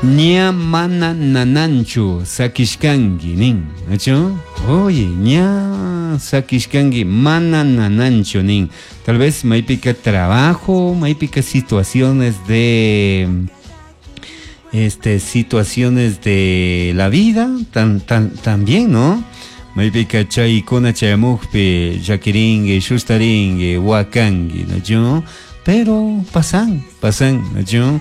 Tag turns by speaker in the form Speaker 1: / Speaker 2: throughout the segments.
Speaker 1: Ña mana nananchu sakishkanki nin. Nachu? Oye, ña sakishkanki mana nananchu nin. Tal vez maypika trabajo, maypika situaciones de situaciones de la vida tan, tan, también, ¿no? Maypika chaykuna chayamukpi llakirinki, shustarinki, wakanki, ¿no? Pero pasan, pasan, ¿no?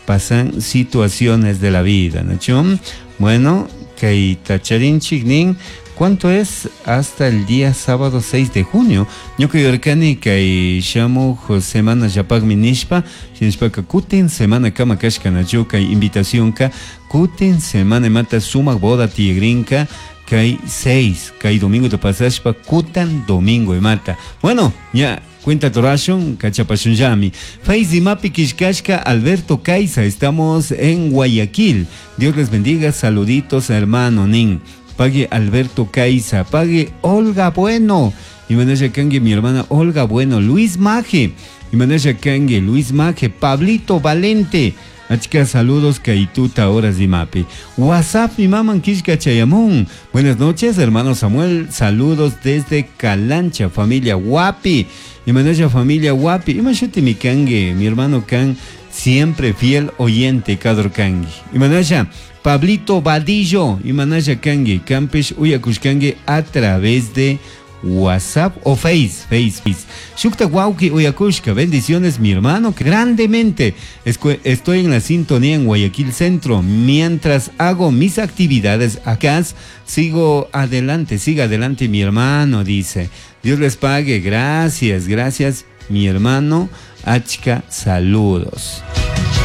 Speaker 1: Pasan situaciones de la vida, ¿no? Bueno, kay tacharinchik nin, ¿cuánto es hasta el día sábado 6 de junio? Ñuka yuyarkani kay shamuj semana llapakmi nishpa, shinashpaka kutin semana kama kashka, nachu? Kay invitacionka kutin semana imata sumak boda tiyagrinka kay 6, kay domingo te pasashpa kutan domingo imata. Bueno, ya cuenta torashun, kachapashun llami. Faiz Mapi Kishkashka, Alberto Caiza, estamos en Guayaquil. Dios les bendiga, saluditos hermano nin. Pague Alberto Caiza, pague Olga Bueno. Y Manaya Kangue, mi hermana Olga Bueno, Luis Maje. Y Manaya Kangue, Luis Maje, Pablito Valente. Achka saludos kaituta horas de mapi. WhatsApp mi mamá Kishka Chayamun. Buenas noches, hermano Samuel. Saludos desde Calancha, familia Guapi. Y manaya familia Guapi. Y mashuti mi kangue, mi hermano Kan, siempre fiel oyente, Kador Kangue. Y manaya Pablito Vadillo. Y manaya Kangue, Campesh Uyakushkangue a través de WhatsApp o Face, Face, Face. Shukta Wauki Uyakushka, bendiciones mi hermano, grandemente. Estoy en la sintonía en Guayaquil Centro. Mientras hago mis actividades acá, sigo adelante, siga adelante mi hermano, dice. Dios les pague, gracias, gracias mi hermano. Achka, saludos.